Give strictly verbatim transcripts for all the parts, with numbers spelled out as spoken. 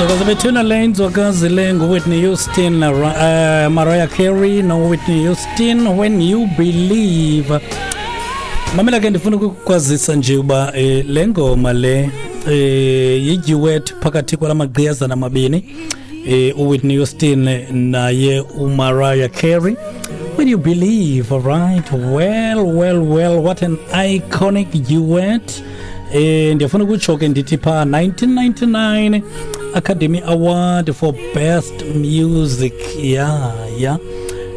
Inzwakazi bethuna le inzwakazi le nguWhitney Houston, uh, Mariah Carey noWhitney Houston, "When You Believe". Mamela ke, ndifuna ukukwazisa nje uba eh, le ngoma le eh yiduet phakathi kwala magqiyazana amabini, eh uWhitney Houston naye uMariah Carey, "When You Believe". All right, well, well, well, what an iconic duet. eh ndiyafuna ukutsho ke ndithi pha nineteen ninety-nine Academy Award for Best Music, yeah yeah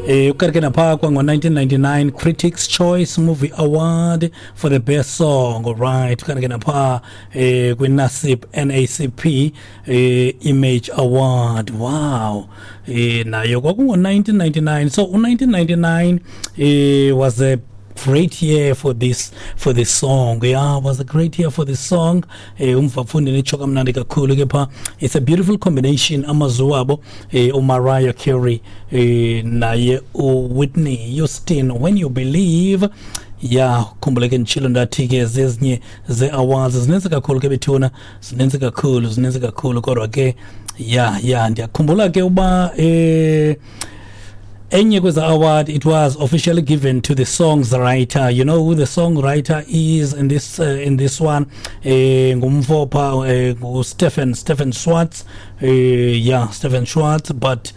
eh ukanti ke napha kwango-nineteen ninety-nine Critics' Choice Movie Award for the best song. Alright, ukanti ke napha eh kwi-NASIP N A C P eh Image Award. Wow, eh nayo kwakungo-nineteen ninety-nine. So u-nineteen ninety-nine eh was a great year for this for this song. Yeah, was a great year for this song. eh umvafundi nitsho kamnandi kakhulu ke pha. It's a beautiful combination, amazwi wabo, eh uMariah Carey eh naye uWhitney Houston, "When You Believe". Ya, khumbule ke nditshilo ndathi ke zezinye ze-awards zininzi kakhulu ke bethuna, zininzi kakhulu, zininzi kakhulu. Kodwa ke ya ya ndiyakhumbula ke uba eh enye kweza award, it was officially given to the song's writer. You know who the songwriter is in this uh, in this one? eh ngumfo pha eh, ngu Stephen Stephen Schwartz. eh yeah Stephen Schwartz. But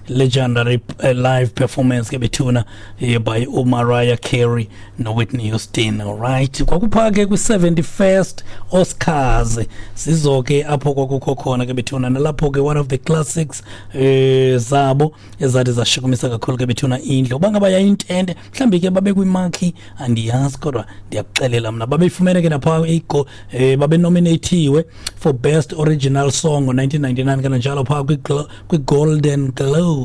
legendary uh, live performance ke bethuna eh, by uMariah Carey noWhitney Houston. All right, kwakupha ke kwi seventy-first Oscars, sizo ke apho kwakukho khona ke bethuna, nalapho ke one of the classics eh zabo ezathi zashukumisa kakhulu ke bethuna indlu. Uba ngaba yayintente, mhlawumbi ke babe kwimarquee, andiyazi, kodwa ndiyakuxelela mna babeyifumene ke napha igo eh babenominatiwe for best original song ngo-nineteen ninety-nine, kananjalo phaa kwi-Golden Globes.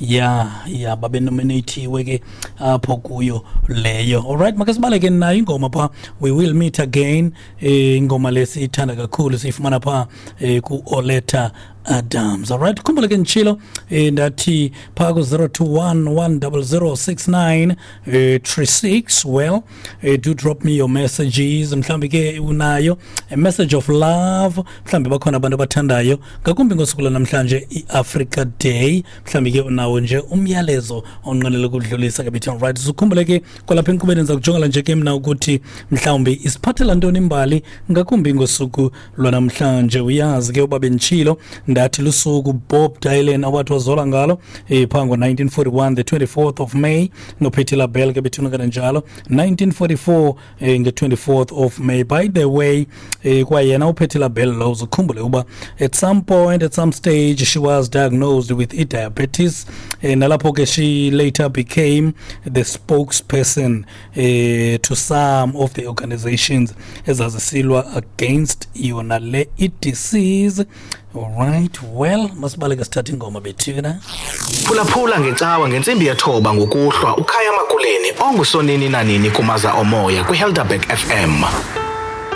ya ya babenominatiwe ke apho kuyo leyo. Alright, make sibaleke nayo ingoma pha, "We Will Meet Again". eh ingoma lesiyithanda kakhulu siyifumana pha eh, ku-Oleta Adams. Alright, khumbule ke nditshilo eh, ndathi phaa ku-zero two one one zero zero six nine eh, three six. Well, eh, do drop me your messages. Mhlawumbi ke unayo a message of love, mhlawumbi bakhona abantu abathandayo, ngakumbi ngosuku lwanamhlanje, i-Africa Day. Mhlawumbi ke unawo nje umyalezo onqwenela ukudlulisa ke bethu. Right, sukhumbule ke kwalapha enkqubeni ndiza kujongela nje ke mna ukuthi mhlawumbi isiphathela ntoni imbali, ngakumbi ngosuku lwanamhlanje. Uyazi ke uba benditshilo ndathi lusuku Bob Dylan awathi wazola ngalo eh phaa ngo-nineteen forty-one, the twenty-fourth of May, noPatty LaBelle ke bethuna kananjalo nineteen forty-four eh, nge-twenty-fourth of May. By the way, eh, kwayena uPatty LaBelle lo, uzukhumbule uba at some point, at some stage, she was diagnosed with i-diabetes, eh, nalapho ke she later became the spokesperson eh, to some of the organizations ezazisilwa against yona le i-disease. Alright, well, masibaleke sithathe ingoma bethuna. Phulaphula ngecawa ngentsimbi yethoba ngokuhlwa uKhaya Makuleni ongusonini nanini kumaza omoya kwiHelderberg F M.